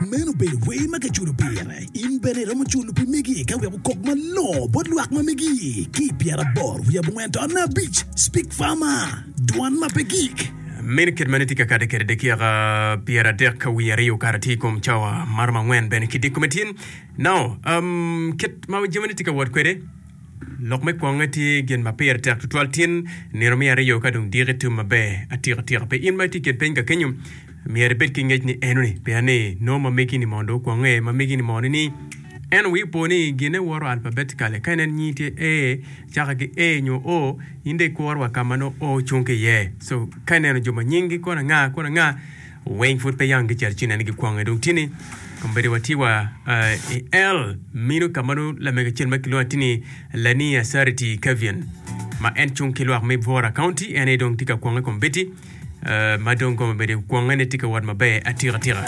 Meno obedo wer ma kiculo pire. In bene iromo culo pi megi ka wek okok malongo bot lwak ma megi ki i pyeraboro wiye abongwen to abic. Speak Farmer, Dwan ma pe gik. Meno kit ma nitye ka kade kwede dakika 30 ka wiye aryo okato tye i kom cawa maromo angwen bene ki dyekome tin. Now, um, kit ma jamine tye ka wot kwede, lok me kwonge tye gin ma pire tek tutwal tin nino me aryo ka dong diki tum maber atika tika. Pi in ma itye i kin piny ka kenyo, myero ibed ki ngec ni enoni, pien ni nongo ma megi ni mondo okwonge, ma megi ni mono ni en wi opo ni gine woto alphabetically. Ka inen nyingi tye A, caka ki A nyo O, in dong ikuro wa ka ma nongo O cung ki iye. So, ka ineno jo ma nyinggi kono anga, kono anga, Weng pud pe yang gicito ci nene gikwonge. Dong tye ni, kombeddi watye wa i El mino ka ma nongo lamego acel ma kilwongo atir ni Lania Sariti Kevin ma en cung ki lwak me Bvora County en aye dong tye ka kwonge kombeddi ma dong kombeddi kwonge ne tye ka wot maber atika tika.